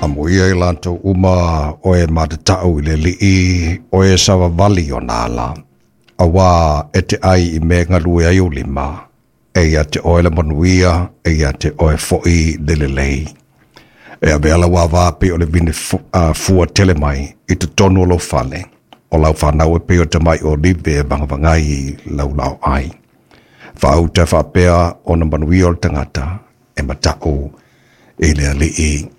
Amuia i latou uma o e matatau i le Alii, o e savavali ona ala, auā e te ai i mea e galue ai ou lima, e ia te oe le manuia, e ia te oe foi le lelei. E avea lau ava pei o le vine fua tele mai i totonu o lou fale, o lau fanau e pei o tamai olive e vagavagai i lau laoai. Faauta e faapea ona manuia o le tagata e matau i le Alii.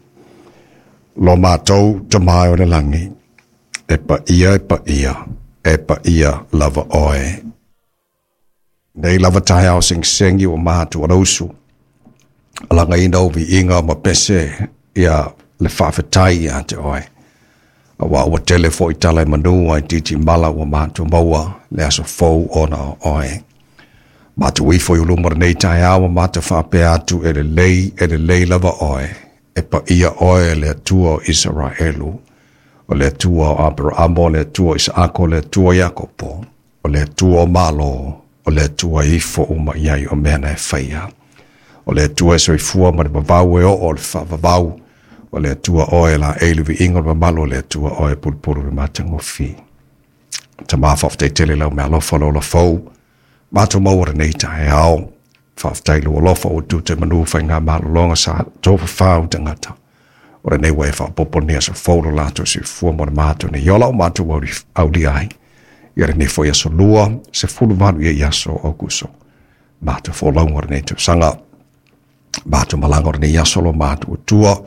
Lo matou Tama e o le lagi, e paia e paia, e paia lava oe. Nei lava taeao segisegi ua matou alausu, alagaina ou viiga ma pese ia le faafetai ia te oe. Aua ua tele foi tala i manu ae titi mala ua matou maua le aso fou ona o oe. Matou ifo i luma o lenei taeao ma matou faapea atu e lelei, e lelei lava oe, e paia oe e le Atua o Isaraelu, o le Atua o Aperamo, o le Atua o Isaako, o le Atua o Iakopo, o le Atua o Malo, o le Atua e ifo uma i ai o mea na e faia. O le Atua e soifua ma le vavau e oo o le faavavau, o le Atua oe e laei le viiga o le mamalu, o le Atua oe e pulupulu i le matagofie. Tama faafetai tele lau meaalofa o le ola fou, matou maua lenei taeao. Faafetai lou alofa ua tuta i manu faigamalologa sa tofafau tagata. O lenei ua e faaopoopo lenei aso fou lo latou soifua mo le matou nei ola o matou aulia ai. Ia lenei foi aso lua, 18 ia i aso o Aokuso. Matou folauga o lenei tausaga. Matou malaga o lenei aso lo matou Atua.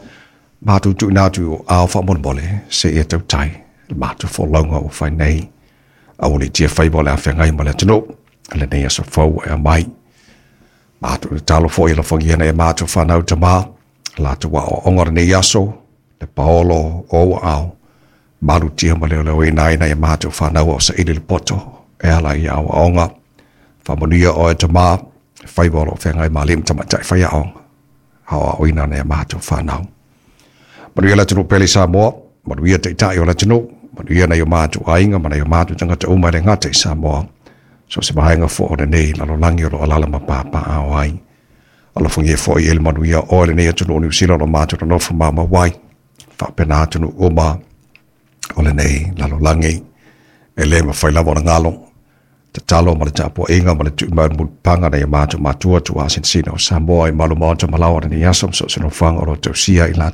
Matou tuuina atu i ou aao faamolemole se i e tautai le matou folauga ua fai nei. Aua ne i tia faiva o le a feagai ma le atunuu. Lenei aso fou e aumai. Matou tatalo foi e alofagia nai a matou fanau tama, latou aoaoga o lenei aso, le paolo o ou aao, malutia ma leoleoina ai nai a matou fanau a o saili le poto e ala i aoaoga. Faamanuia oe tama, faiva o lo o feagai ma alii ma tamaitai faiaoga, aoaoina nai a matou fanau. Manuia le atunuu pele i Samoa, manuia taitai o le atunuu, manuia nai o matou aiga ma nai o matou tagata uma e le gata i Samoa. So se vaega foi o lenei lalolagi o lo o alaala ma papaaao ai. Alofagia foi e le manuia oe lenei atunuu o Niu Sila o lo matou nonofo maumau ai. Faapena atunuu uma o lenei lalolagi. E le mafai lava ona galo. Tatalo ma le tapuaiga ma le tuu mai o le mulipapaga nai o matou matua tuaasinasina o Samoa i malu maota ma laoa o lenei aso ma so o se nofoaga o lo o tausia i latou.